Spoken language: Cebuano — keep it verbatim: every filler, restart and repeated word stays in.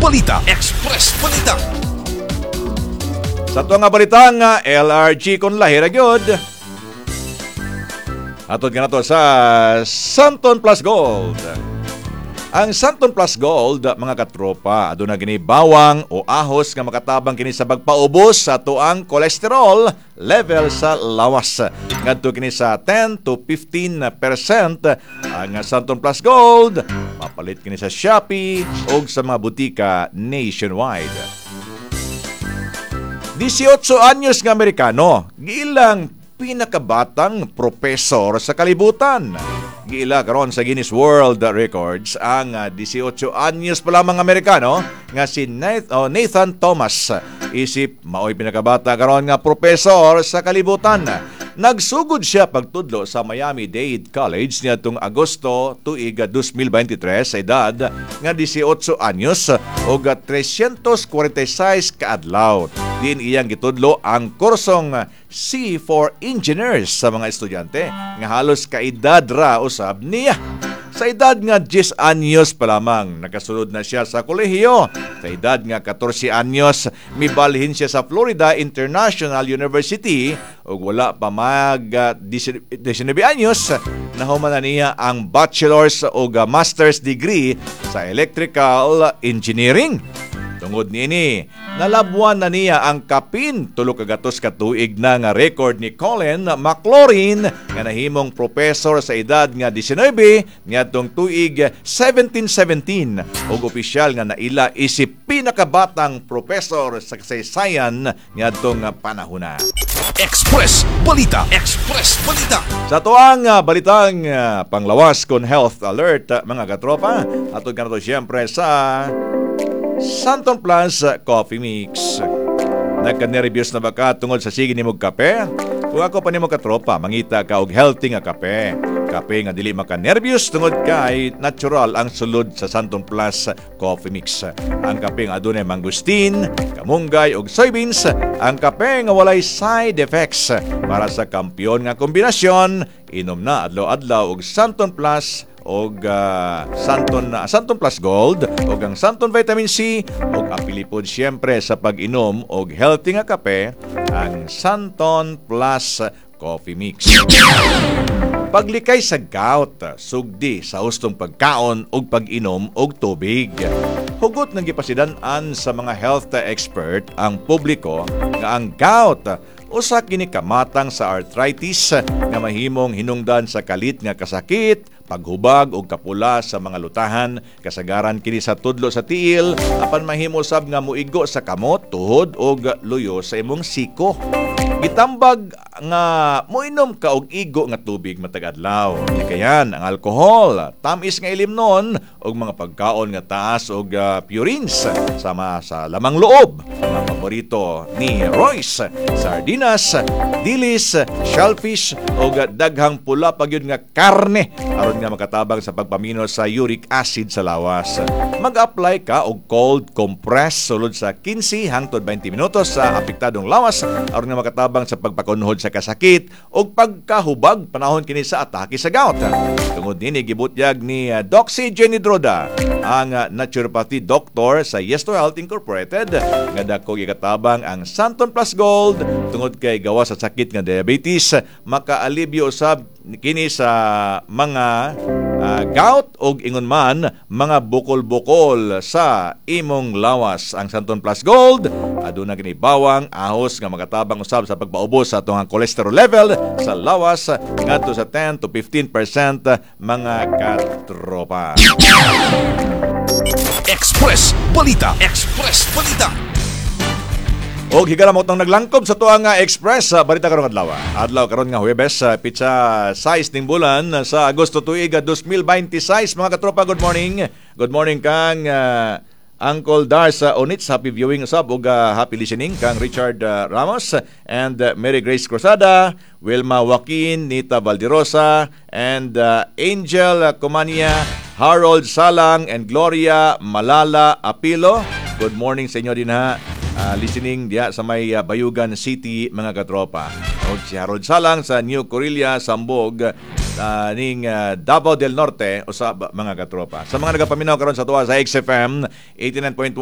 Balita. Express Balita. Sa atuang nga balita nga L R G kon lahi ra gyud. Atod ka na to sa Santon Plus Gold. Ang Santon Plus Gold, mga katropa, aduna kini bawang o ahos nga makatabang kini sa pagpaubos sa atuang kolesterol level sa lawas. Ngadto kini sa ten to fifteen percent ang Santon Plus Gold. Mapalit kini sa Shopee o sa mga butika nationwide. eighteen anyos nga Amerikano, giilang pinakabatang propesor sa kalibutan. Giila karon sa Guinness World Records ang ah, eighteen anyos pa lamang Amerikano nga si Nath- oh, Nathan Thomas. Isip maoy pinakabata karon nga propesor sa kalibutan. Nagsugod siya pagtudlo sa Miami-Dade College niadtong Agosto tuig twenty twenty-three sa edad nga eighteen anyos ug three hundred forty-six kaadlaw. Diin iyang gitudlo ang kursong C for Engineers sa mga estudyante nga halos kaedad ra usab niya. Sa edad nga ten anyos pa lamang, nakasulod na siya sa kolehiyo. Sa edad nga fourteen anyos, mibalhin siya sa Florida International University ug wala pa mag ah, nineteen anyos, nahuman na niya ang bachelor's ug ah, master's degree sa electrical engineering. Tungod niini, nalabwan na niya ang kapin tulo ka gatos ka tuig na nga record ni Colin McLaurin nga nahimong propesor sa edad nga nineteen niadtong tuig seventeen seventeen ug opisyal nga naila isip pinakabatang propesor sa kasaysayan niadtong panahona. Express Balita. Express Balita. Sa tuang uh, balitang uh, panglawas kon health alert uh, mga katropa, atod ka na to siyempre sa Santon Plus Coffee Mix. Nagka-nervyos na ba ka tungod sa sige nimo kape? Kung ako pa nimo katropa, mangita ka og healthy nga kape. Kape nga dili maka-nervyos tungod kay natural ang sulod sa Santon Plus Coffee Mix. Ang kape nga adunay mangosteen, kamunggay ug soybeans, ang kape nga walay side effects. Para sa kampiyon nga kombinasyon, inom na adlaw-adlaw og Santon Plus og ah, Santon Santon Plus Gold og ang Santon Vitamin C og apili pod siyempre sa pag-inom og healthy nga kape ang Santon Plus Coffee Mix. Paglikay sa gout, sugdi sa hustong pagkaon ug pag-inom og tubig. Hugot ng gipasidan-an sa mga health expert ang publiko nga ang gout usa kini kamatang sa arthritis nga mahimong hinungdan sa kalit nga kasakit, paghubag og kapula sa mga lutahan, kasagaran kini sa tudlo sa tiil, apan mahimo sab nga muigo sa kamot, tuhod og luyo sa imong siko. Gitambag nga moinom ka og igo nga tubig matag adlaw. Likayan ang alkohol, tamis nga ilimnon ug mga pagkaon nga taas og uh, purines sama sa lamang loob nga paborito ni Royce, sardinas, dilis, shellfish ug daghang pula pa gyud nga karne aron nga makatabang sa pagpamino sa uric acid sa lawas. Mag-apply ka og cold compress sulod sa fifteen hangtod twenty minutos sa apektadong lawas aron nga makatabang sa pagpakunhod sa kasakit ug pagkahubag panahon kini sa atake sa gout. Tungod nini, gibutyag ni uh, Doc C. Jenny Droda, ang uh, naturopathy doctor sa Yes to Health Incorporated, nga dako gikatabang ang Santon Plus Gold tungod kay gawas sa sakit nga diabetes, makaalibyo usab kini sa mga uh, gout og ingon man mga bukol-bukol sa imong lawas. Ang Santon Plus Gold aduna kini bawang, ahos nga makatabang usab sa pagpaubos sa atong cholesterol level sa lawas ngadto sa ten to fifteen percent, mga katropa. Express Balita. Express Balita. Og higala mo tong naglangkob sa tuang nga Express sa balita karong adlaw. Adlaw karon nga Huwebes sa pitsa sais ning bulan sa Agosto tuig twenty twenty-six, mga katropa. Good morning. Good morning kang uh, Uncle Dar sa Onits, happy viewing usab ug uh, happy listening kang Richard uh, Ramos and uh, Mary Grace Cruzada, Wilma Joaquin, Nita Valderosa and uh, Angel Comania, Harold Salang and Gloria Malala Apilo. Good morning sa inyo din ha. Uh, listening diya sa may uh, Bayugan City, mga katropa. O si Harold Salang sa New Corilla, Sambog, uh, ning uh, Davao del Norte usab, mga katropa. Sa mga nagapaminaw karon sa tuwa sa X F M eighty-nine point one.